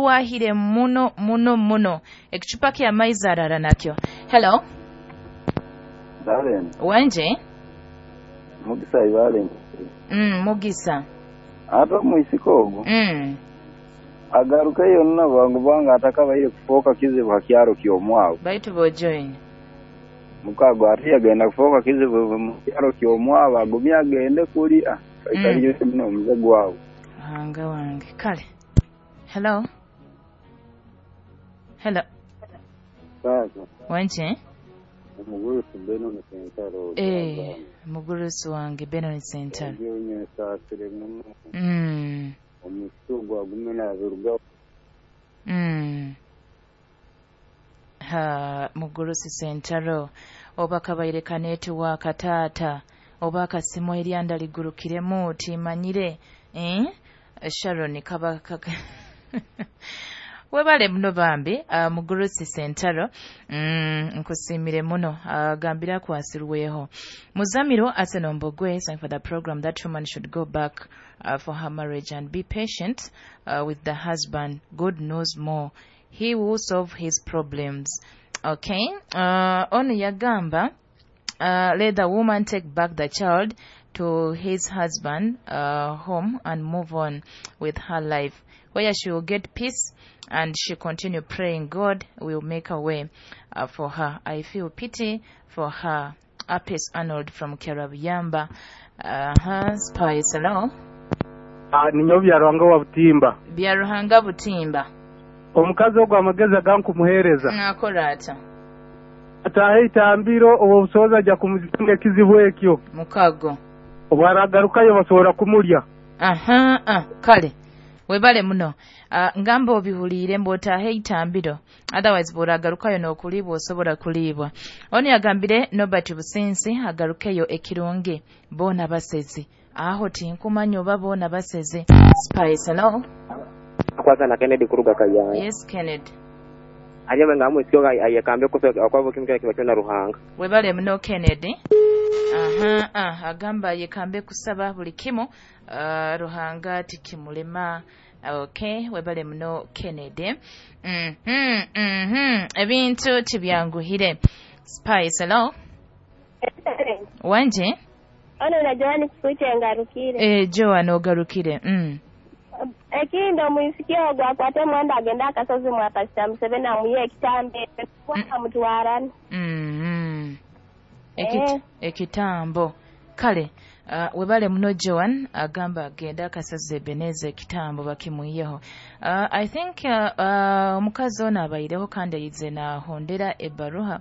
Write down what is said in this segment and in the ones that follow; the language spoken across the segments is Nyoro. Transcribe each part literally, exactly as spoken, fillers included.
Arwahire muno muno muno. Ekicupa kya maizi arara nakyo. Hello. Darren. Wanje? Mugisa ibale. Mm, Mugisa. Ata muisiko ogo. Mm. Agaruka yonna bangu banga atakabaire kufoka kizibu hakyaro kyomwabo. Baitu bo join. Mukago ati agenda kufoka kizibu mu kyaro kyomwabo agumya agende kulya. Kaikaliyo mm. Muno omuze gwawo. Hanga wange. Kale. Hello. Hello. Sasa. Wanje? Mugurusi Benon Sentaro. Eh, mugurusi wange Benon Sentaro. Ndiyo sasire muno. Mm. Omusugu agumena abiruga. Mm. Ha, mugurusi Sentaro oba kabaire kanetu wa katata oba akasimu eryanda ligurukiremu timanyire eh Sharon kaba kaka webale muno bambi uh, mugurusi Sentaro mm, nkusimire muno uh, gambira kwasirweho Muzamiro Asenombo sang for the program that woman should go back uh, for her marriage and be patient uh, with the husband. God knows more, he will solve his problems. Okay, uh, ono yagamba uh, let the woman take back the child to his husband uh, home and move on with her life, where she will get peace and she continue praying God will make a way uh, for her. I feel pity for her. Apis Arnold from Kerabiyamba. Uh-huh. Spice, hello. Ah, ninyo Byaruhanga wa Butimba. Byaruhanga Butimba. Omukazi ogwo amagezi agankumuhereza. Nakola ata? Atahe itambiro obwo busoboza ajja kumuzinga ekizibu ekyo. Mukago. Obwaragarukayo basobola kumulya. Aha, ah, kale. Webale muno. Uh, ngamba obihuliire mbwotahe itambiro. Otherwise bw'oragarukayo n'okulibwa osobola kulibwa. Ono yagambire Norbert Businsi agarukeyo ekirungi boona basezi. Aho tinkumanya oba boona basezi. Spice, hello. Kwanza na Kennedy kuruga Kayanja. Yes, Kennedy. Ajama nga amwe ayekambe kusoka akwabo kimukira kiba na Ruhanga. Webale muno Kennedy. Aha, ah, agamba yekambe kusaba buli kimu uh, Ruhanga tikimulema. Okay, webale muno Kennedy. Mhm, mm mhm. Ebintu tibyanguhire. Spice, hello. Wanje? Ono na Joan kikuche ngarukire. Eh, Joan ogarukire. Mm. Ekindo muisikia ogwa akwate mwanda agenda akasozi mwa Pastor Museveni amuye ekitambe kwa mutwarana. Mm. Ekit eh. Ekitambo. Kale, uh, webale muno Joan agamba agenda akasozi Ebeneze ekitambo bakimuyeho. Uh, I think omukazi uh, uh, ono abayireho kandi ayize na hondera ebaruha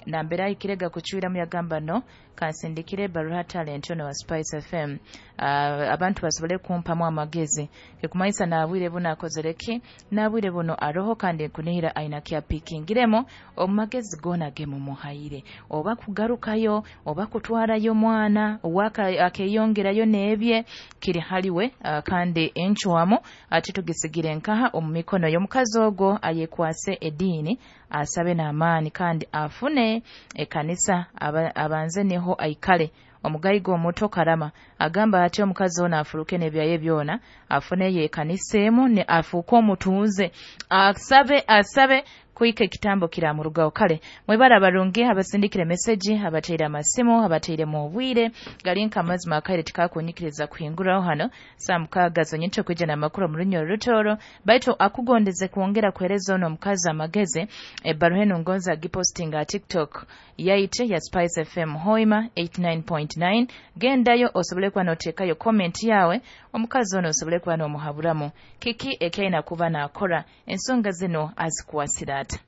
nambera ikirega kuchwira muyagamba no kansindikire baruha talent ono wa Spice F M uh, abantu basobole kumpamu amagezi ekumayisa nabwire buno akozereki nabwire buno aroho kandi kunihira aina kya pikingiremo omagezi gona gemu muhaire oba kugarukayo oba kutwarayo mwana waka akeyongerayo nebye kiri haliwe uh, kandi enchwamo ati tugisigire nkaha omumikono y'omukazi ogwo ayekwase edini asabe n'amaani kandi afune ekanisa abanze niho aikale. Omugayigo omuto Karama agamba ati omukazi ono afuruke n'ebyaye byona afune ye ekanisa emu ne afuuke omutunze asabe asabe kuika ekitambo kiramurugaho. Kale mwebara abarungi abasindikire message abateire amasimu abateire mu bwire galinka amazima akaire tikakunyikiriza kuhinguraho hano saa mukaaga zonyinto kwijja n'amakuru mu runyo rutoro baitu akugondeze kuongera kuhereza ono omukazi amagezi ebbaruha eno ngonza agipostinga TikTok yaite ya Spice F M Hoima eighty-nine point nine. Gendayo osobole kuba n'oteekayo comment yawe omukazi ono osobole kuba n'omuhaburamu kiki ekyaina kuba n'akora ensonga zino azikwasira ata.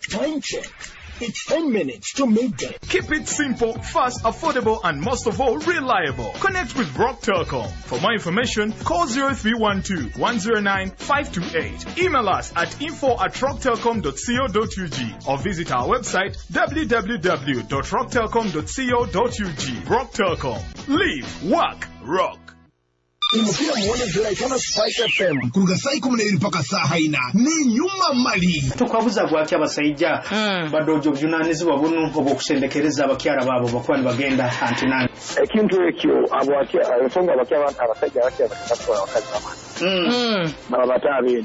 Time check. It's ten minutes to midday. Keep it simple, fast, affordable, and most of all, reliable. Connect with Rock Telcom. For more information, call zero three one two, one zero nine, five two eight. Email us at info at rocktelcom dot co dot U G or visit our website w w w dot rock telcom dot co dot U G. Rock Telcom. Live, work, rock. Imukira muone ziraitana Spice F M kuruga saa ikumi n'ebiri mpaka saa haina ni nyuma mali tukwabuza gwaki abasajja mm. badojo bujunanizibwa bunu obwokusendekereza abakyala baabo bakuba nibagenda antinani ekintu ekyo abo ensonga abakyala abasajja abakyala batwala abakazi bamani mm. baba bataabeni.